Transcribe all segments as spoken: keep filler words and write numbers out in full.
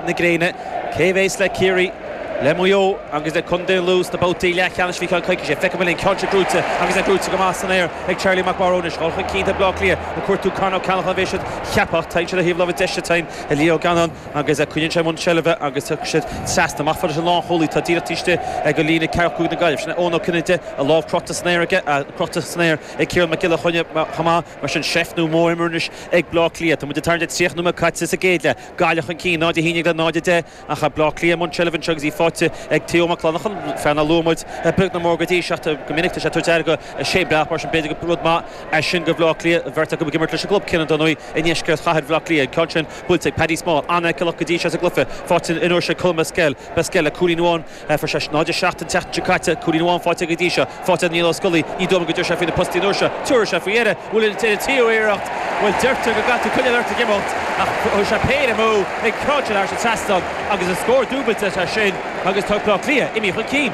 na gréine. Cé bhéas le Ciarraí, le Maigh Eo agus le Contae Lú sna babhtaí leathcheannais faoi cheann coicíse? Feicim an ceann seo gnóite agus é gnóite go maith san aer ag Charlie Mac Mharónis. Dul chun cinn Bleá Cliath ag cuartú Con Ó Ceannacháin a bhí siad cheapach tagann siad a thaobh láimhe deise tain a Leo Gannon agus coinníonn sé mbun seilbhe agus thug siad trasna amach fad leis an lánchúlaí. Tá díreach taobh istigh ag an líne ceathracha cúig na Gaillimh. Sin é Eoin Ó Cinnéide, a lámh crochta san aer aige, crochta san aer ag Ciarán Mac Giolla Chainnigh chomh maith. Mar sin seift nó mór anois ag Bleá Cliath. Tá muid ag tarraingt tríocha nóiméad caite sa gcéad leath. Gaillimh chun cinn náid a haon déag le náid a deich ach Bleá Cliath i mbun seilbhe anseo agus í faighte ag Theo Mac Lannachan, fear nár luaigh muid beag ná mór go dtí seo. Go minic tá sé tabhairt aire go Shane Breathnach, mar sin b'fhéidir go rud maith é sin go Bleá Cliath, bheirt acu ag imirt leis an gclub céanna dar ndóigh i ndeisceart chathair Bhleá Cliath. An ceann sin buailte ag Paddy Small, an-fheiceálach go dtí seo sa gcluiche, faighte an uair seo ag Colm Basquel. Basquel le cúilín amháin, fuair sé náid a seacht an tseachtain seo caite, cúilín amháin faighte go dtí seo, faighte Niall Ó Scolaí. Ní dóigh go dtabharfaidh sé faoi na postaí an uair seo, tabharfaidh sé faoi dheireadh. Bhfuil an tríú iarracht? Bhuel, deirtear go gcaithfidh tú coinneáil ort ag imeacht, ach chuir sé péire amú ag ceann sin thar an trasnán agus an scór dúbailte é sin agus tá Bleá Cliath imithe chun cinn.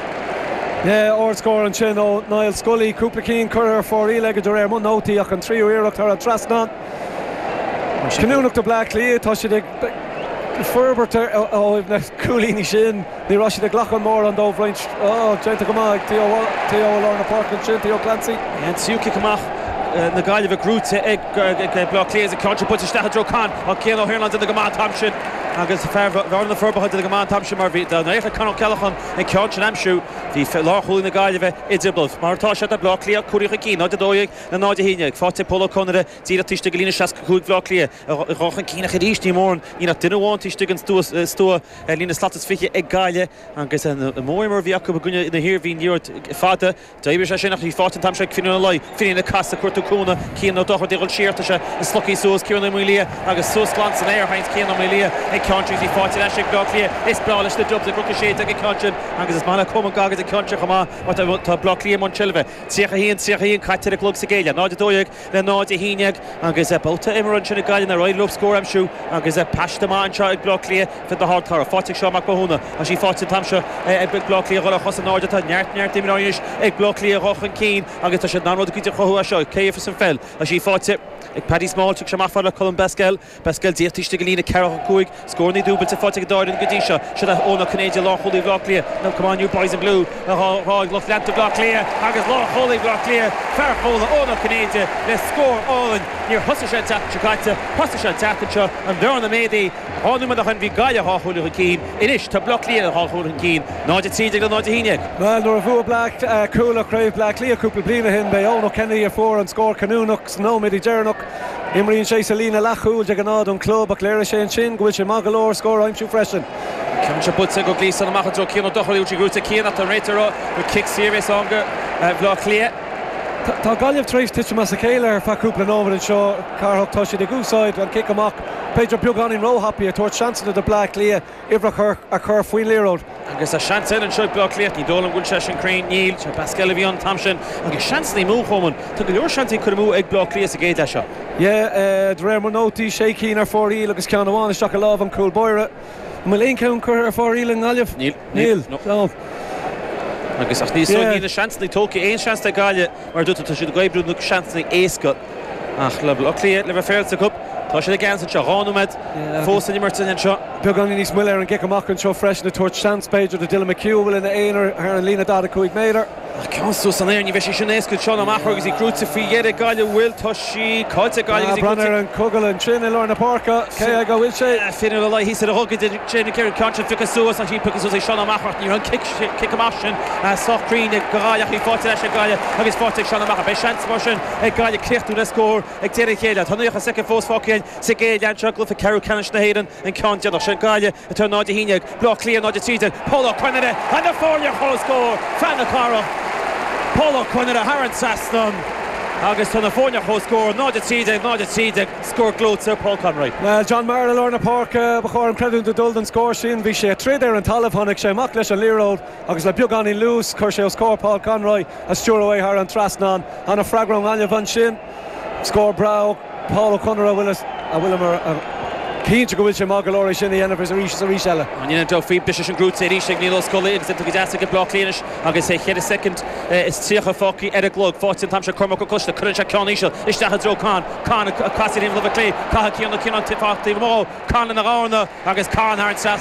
Yeah, ardscór ansin ó Niall Scully, cúpla cinn curtha ar fóraoil aige de réir mo nótaí, ach an tríú iarracht thar an trasnán. Cinniúnach do Bleá Cliath, tá siad ag forbairt ó thaobh na cúilíní sin. Ní raibh siad ag glacadh mórán dóibh roinnt déanta go maith ag Theo Theo i lár na páirce ansin, Theo Clancy. An tríú cic amach na Gaillimhe gnóite ag Bleá Cliath, an ceann sin buailte isteach i dtreo Con ach Cian Ó hIarnáin déanta go maith an t-am sin agus fear Bhearna na Forbacha déanta go maith an t-am sin, mar bhí dá n-éirigh le Con Ó Ceallacháin an ceann sin aimsiú, bhí lánchúlaí na Gaillimhe i dtrioblóid. Mar atá sé, tá Bleá Cliath cúilín chun cinn, náid a dó dhéag le náid a haon déag, faighte ag Pól Ó Conaire díreach taobh istigh de líne seasca cúig Bhleá Cliath. A dhul chun cinn ach arís ní mórán, níl ach duine amháin taobh istigh den stua stua ar líne slat is fiche ag Gaillimh agus an mór a bhí acu i gcoinne na hIarmhí an liathróid fada. D'oibrigh sé sin ach bhí faighte an t-am seo ag Finian Ó Laoi. Finian ag casadh, cuartú cúnamh, Cian Ó Dochartaigh ag dul siar, tá sé ag slogthaí suas Ciarán Ó Maolaodha agus suas glan san aer thagann Cian Ó Maolaodha ag ceann sin agus í faighte ar ais ag Bleá Cliath. Is breá leis na Dubs ag Cnoc a sé déag ag ceann sin agus is maith le Colman Goggins ag ceann sin chomh maith mar tá Bleá Cliath i mbun seilbhe. tríocha a haon tríocha a haon caite ar an gclog sa gcéad leath, náid a dó dhéag le náid a haon déag agus babhta imeartha ansin ag Gaillimh nár éirigh leo scór a aimsiú agus paiste maith anseo ag Bleá Cliath fir na hArdchathrach. Faighte ag Seán Mac Mathúna. Tá sí faighte an t-am seo ag Bleá Cliath dhul ar chosa in airde. Tá neart neart imreoirí anois ag Bleá Cliath dhul chun cinn agus tá siad in ann rud éicint a chruthú as seo. Cé a an pheil? Tá sí faighte ag Paddy Small, thug sé amach fad le Colm Basquel. Basquel díreach taobh istigh de líne ceathracha cúig, scóranna dúbailte faighte ag an dá fhoireann go dtí seo. Seo é Eoin Ó Cinnéide, lánchúlaí Bhleá Cliath. Now come on you boys in blue a rá ag lucht leanta Bhleá Cliath agus lánchúlaí Bhleá Cliath, fear Chuala, Eoin Ó Cinnéide le scór álainn. Níor thosaigh sé an tseachtain seo caite, thosaigh sé an tseachtain seo. An bhearna méadaithe. Dhá nóiméad ó shin bhí Gaillimh dhá chúilín chun cinn. Anois tá Bleá Cliath dhá chúilín chun cinn. náid a trí déag le náid a haon déag. Well, nuair a bhuaigh Bleá Cuala Craobh Bleá Cliath cúpla bliain ó shin, b'é Eoin Ó Kennedy a fuair an scór cinniúnach sna nóiméadaí deireanach. Imríonn sé sa líne leathchúil de ghnáth don club, ach léirigh sé ansin go bhfuil sé maith go leor scór a aimsiú freisin. Ceann seo buailte go gléasan amach i dtreo Cian Ó Dochartaigh sí gnóite Cian ach tá réiteoir ag rá gur cic saor é ann go Bhleá Cliath. Tá Gaillimh tar éis titim as a chéile ar feadh cúpla nóiméad anseo, Cárthach. Tá siad ag úsáid an cic amach b'fhéidir beagáinín róthapaidh, ag tabhairt seansanna do Bleá Cliath uimhreacha a chur faoin liathróid. Agus tá seans eile anseo ag Bleá Cliath, ní dóigh liom go bhfuil sé sin cruinn. Níl sé. Basquel a bhí an t-am sin agus seansanna amú Choman. Tá go leor seansanna curtha amú ag Bleá Cliath sa gcéad leath seo. Yeah, de réir mo nótaí, sé cinn ar fóraoil agus ceann amháin isteach i lámh an chúl báire. An bhfuil aon cheann curtha ar fóraoil i nGaillimh? Níl. Níl. No. Agus ach níos yeah. níl na seansanna tógtha, aon seans ag Gaillimh, mar dúirt, tá siad ag oibriú na seansanna éasca ach le Bleá Cliath le bheith féaráilte acu, tá siad ag ceannas anseo. Dhá nóiméad fós san imirt anseo. Beagán níos moille ar an gcic amach anseo freisin, ag tabhairt seans b'fhéidir do Dylan McHugh, a bhfuil ina aonar thar an líne daichead a cúig méadar. Ach ceann suas san aer, ní bheidh sé sin éasca. Seán amach agus í gnóite faoi dheireadh Gaillimh. Bhfuil tá sí caillte Gaillimh agus í Breathnaigh ar an chogal ansin i lár na páirce, cé ag a bhfuil sé? Finian Ó Laoi thíos ar a ghogaide sin an ceann sin pioctha suas ach í pioctha suas ag Seán Ó Meachair. Ní raibh an cic cic amach sin sách cruinn ag Gaillimh ach í faighte leis ag Gaillimh agus faighte ag Seán Ó Meachair. Beidh seans mar sin ag Gaillimh críochnú le scór ag deireadh chéile. Tá naocha soicind fós fágtha sa gcéad leath anseo, cluiche ceathrú ceannais na hÉireann, an ceann déanach sin. Gaillimh atá náid a haon déag, Bleá Cliath náid a trí déag. Paul Ó Conaire an na foirne comhscór, fear na cathrach Paul Ó Conaire thar an trasnán agus tá na foirne comhscór, náid a trí déag náid a trí déag, scór gleoite Paul Conroy. Well, John Maher i lár na páirce ba chóir an creidiúint a dul don scór sin. Bhí sé ag troid ar an talamh, tháinig sé amach leis an liathróid agus le beagáinín luas chuir sé os comhair Paul Conroy a stiúradh thar an trasnán. An-fhreagra ón nGaillimh ansin. Scór breá Paul Ó Conaire, a bhfuil a bhfuil mar cinnte go bhfuil sé maith go leor é sin a dhéanamh arís is arís eile. An dhéanamh dó faoi bris an gnóite arís ag Niall Ó Scolaí agus go deas ag Bleá Cliath agus é ceithre soicind is tríocha fágtha ar an gclog. Faighte an t-am seo Cormac Ó Coiste, cuireann sé ceann íseal isteach i dtreo Con Con ag casadh láimhe clé, caithfidh Cian Ó Cianáin taobh amuigh, Con lena dhorna agus Con thar an trasnán.